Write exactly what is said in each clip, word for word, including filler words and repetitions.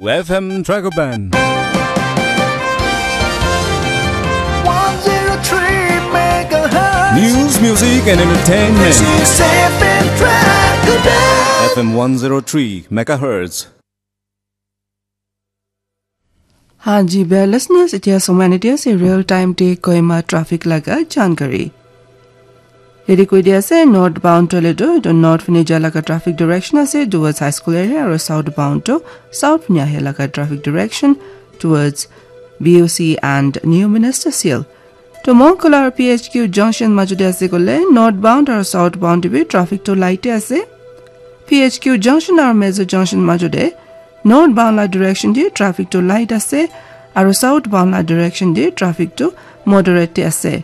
F M Dragoban. one zero three megahertz. News, music, and entertainment. This is F M Dragoban. F M one zero three megahertz. Hanji, bia listeners, itia somani dia se real time te Kohima traffic laga jankari. Yedi koi dia se northbound to le do, do north fini ja laga traffic direction ase towards high school area, aru southbound to south fini ahe laga traffic direction towards B O C and New Minister Seal. To Mongkol aru P H Q junction maju de ase kole northbound aru southbound de bi traffic to light ase. P H Q junction aru Mezo junction maju de northbound la direction de traffic to light ase, aru southbound la direction de traffic to moderate de ase.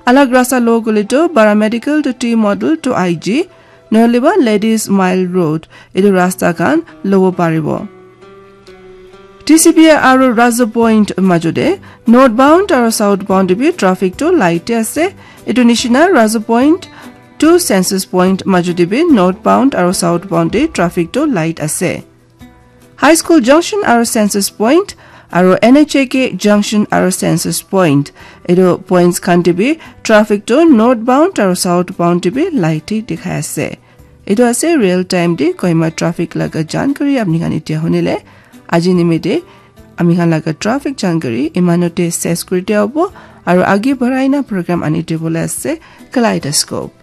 Alag rasta lo kole to paramedical to T model to I G, nohole ba Ladies Mile Road, etu rasta khan lobo paribo. T C P aru Razo Point maju de northbound aru southbound de bi traffic to light de ase. Etu nishina Razo Point to Census Point maju de bi northbound aru southbound de traffic to light ase. High School Junction aru Census Point aru N H A K Junction aru Census Point, etu points khan de bi traffic to northbound aru southbound de bi light de dikhai ase. Etu ase real time de Kohima traffic laga jankari apni khan itia hunile. Aji nimite ami khan laga traffic jankari imanote ses kuri dia hobo, aru agi barai na program ani dibole ase. Kaleidoscope.